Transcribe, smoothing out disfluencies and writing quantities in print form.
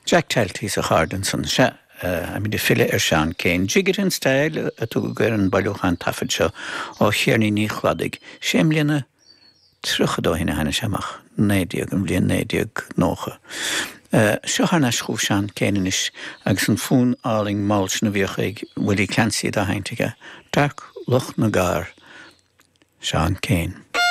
Jack Talty is a chairde ansan. Sea, táimid ag filleadh ar Seán Keane. Jig It in Style a tugadh ar an bailiúchán taifead seo ó cheirníní Chladaigh. Sé mbliana tríochad ó shin a tháinig sé amach, 19, an bhliain 1990. Seo thar n-ais chugaibh Seán Keane anois agus an fonn álainn mall sin a bhíodh ag Willie Clancy dá sheinnt aige, Dark Loch na gCarr. Seán Keane.